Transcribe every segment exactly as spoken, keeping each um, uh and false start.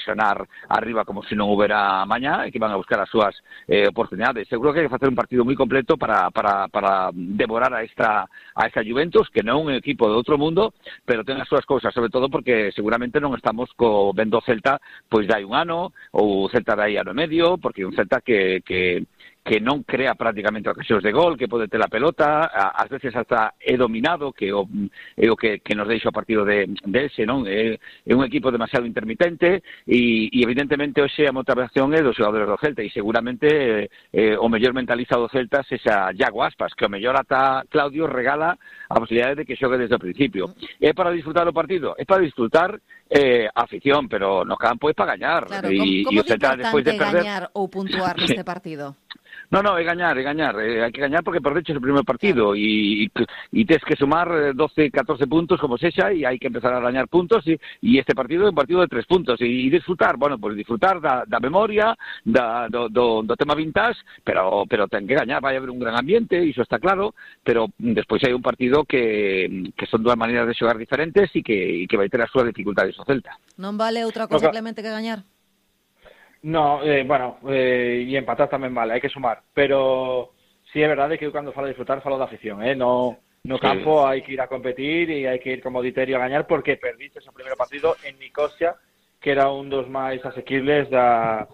presionar arriba como se non houbera mañá e que van a buscar as súas eh, oportunidades. Eu creo que hai que facer un partido moi completo para, para, para devorar a esta, a esta Juventus, que non é un equipo de outro mundo, pero ten as súas cousas, sobre todo porque seguramente non estamos co vendo Celta pois dai un ano, ou Celta dai ano e medio, porque é un Celta que, que que non crea prácticamente ocasións de gol, que pode ter a pelota, ás veces hasta é dominado, que o, é o que, que nos deixa o partido de, de ese, non? É, é un equipo demasiado intermitente e, e evidentemente hoxe a motivación é dos xogadores do Celta e seguramente eh, o mellor mentalizado do Celta é esa Iago Aspas, que o mellor ata Claudio regala a posibilidade de que xogue desde o principio. É para disfrutar o partido? É para disfrutar eh, a afición, pero no campo é para gañar. Claro, e, como, como e o Celta despois de perder gañar ou puntuar neste partido? No, no, é gañar, é gañar, eh, hai que gañar porque perdeches o primeiro partido e, e tes que sumar doce, catorce puntos como sexa e hai que empezar a gañar puntos e, e este partido é un partido de tres puntos e, e disfrutar, bueno, pues disfrutar da, da memoria, da, do, do, do tema vintage, pero, pero ten que gañar, vai haber un gran ambiente, iso está claro, pero despois hai un partido que, que son dúas maneiras de xogar diferentes e que, e que vai ter as súas dificultades o Celta. Non vale outra cosa simplemente que gañar? No, eh, bueno, eh, e empatar tamén vale, hai que sumar, pero sí é verdade que eu cando falo de disfrutar falo da afición, eh? no, no campo sí. Hai que ir a competir e hai que ir como Diterio a gañar porque perdiste o primeiro partido en Nicosia, que era un dos máis asequibles da,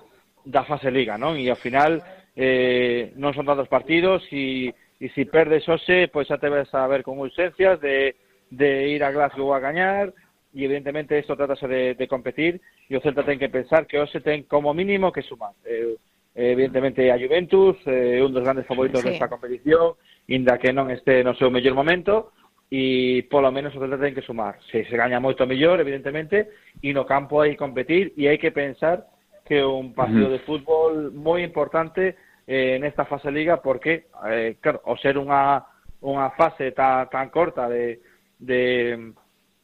da fase liga, non? E ao final eh, non son tantos partidos e, e se perdes hoxe, pois xa te ves a ver con ausencias de, de ir a Glasgow a gañar. E evidentemente isto tratase de, de competir e o Celta ten que pensar que hoxe ten como mínimo que sumar. Eh, evidentemente a Juventus é eh, un dos grandes favoritos sí. desta competición, inda que non este no seu mellor momento, e polo menos o Celta ten que sumar. Se se gaña moito mellor, evidentemente, e no campo hai que competir e hai que pensar que é un partido uh-huh. de fútbol moi importante eh, nesta fase liga porque, eh, claro, ao ser unha, unha fase tan, tan corta de... de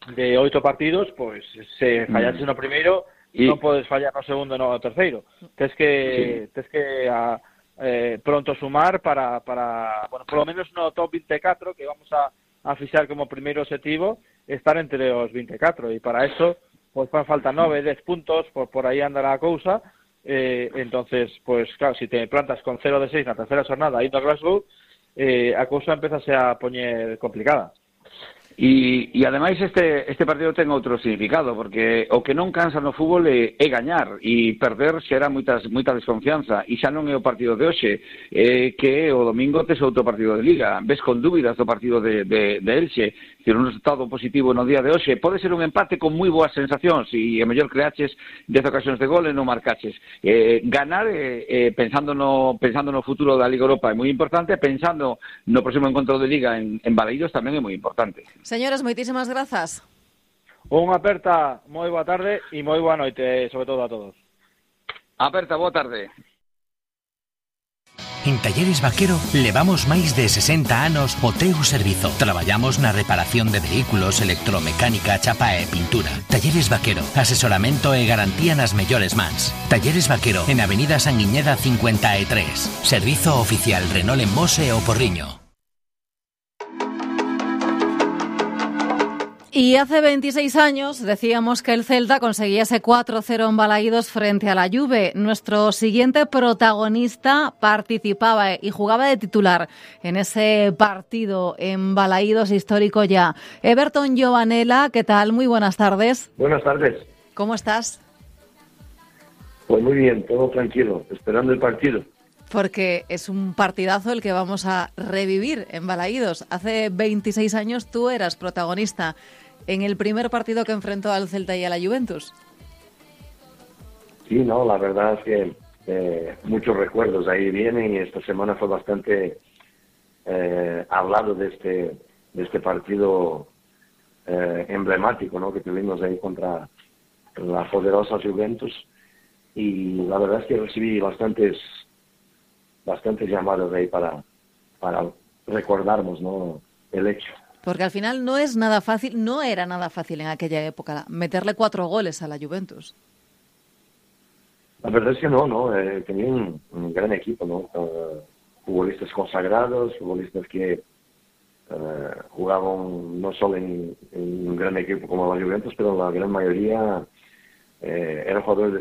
de oito partidos, pois se fallaste no primeiro e non podes fallar no segundo no terceiro. Tes que sí. tes que a, eh, pronto sumar para, para bueno, polo menos no top vinte e catro que vamos a, a fixar como primeiro objetivo estar entre os vinte e catro e para eso pois fan falta nove, dez puntos, por, por aí andará a cousa eh, entonces, pois claro, se si te plantas con cero de seis na terceira xornada indo a Glasgow, eh, a cousa empezase a poñer complicada. E, e ademais este, este partido ten outro significado, porque o que non cansa no fútbol é, é gañar, e perder xera moitas, moita desconfianza, e xa non é o partido de hoxe, é que o domingo tes outro partido de Liga, ves con dúbidas do partido de, de, de Elche, que un resultado positivo no día de hoxe, pode ser un empate con moi boas sensacións, e a mellor creaches dez ocasións de gol e non marcaches. Eh, ganar, eh, eh, pensando, no, pensando no futuro da Liga Europa é moi importante, pensando no próximo encontro de Liga en, en Balaídos tamén é moi importante. Señores, moitísimas grazas. Unha aperta, moi boa tarde e moi boa noite, sobre todo a todos. Aperta, boa tarde. En Talleres Vaquero levamos máis de sesenta anos o teu servizo. Traballamos na reparación de vehículos, electromecánica, chapa e pintura. Talleres Vaquero, asesoramento e garantía nas mellores mans. Talleres Vaquero, en Avenida Sanguiñeda cincuenta e tres. Servizo oficial Renault en Mos e o Porriño. Y hace veintiséis años decíamos que el Celta conseguía ese cuatro cero en Balaídos frente a la Juve. Nuestro siguiente protagonista participaba y jugaba de titular en ese partido en Balaídos histórico ya. Everton Giovanella, ¿qué tal? Muy buenas tardes. Buenas tardes. ¿Cómo estás? Pues muy bien, todo tranquilo, esperando el partido. Porque es un partidazo el que vamos a revivir en Balaídos. Hace veintiséis años tú eras protagonista en el primer partido que enfrentó al Celta y a la Juventus. Sí, no, la verdad es que eh, muchos recuerdos ahí vienen y esta semana fue bastante eh, hablado de este, de este partido eh, emblemático, ¿no?, que tuvimos ahí contra la poderosa Juventus, y la verdad es que recibí bastantes bastantes llamadas ahí para, para recordarnos, ¿no?, el hecho. Porque al final no es nada fácil, no era nada fácil en aquella época meterle cuatro goles a la Juventus. La verdad es que no, no, eh, tenía un, un gran equipo, ¿no? Uh, futbolistas consagrados, futbolistas que uh, jugaban no solo en, en un gran equipo como la Juventus, pero la gran mayoría eh, eran jugadores de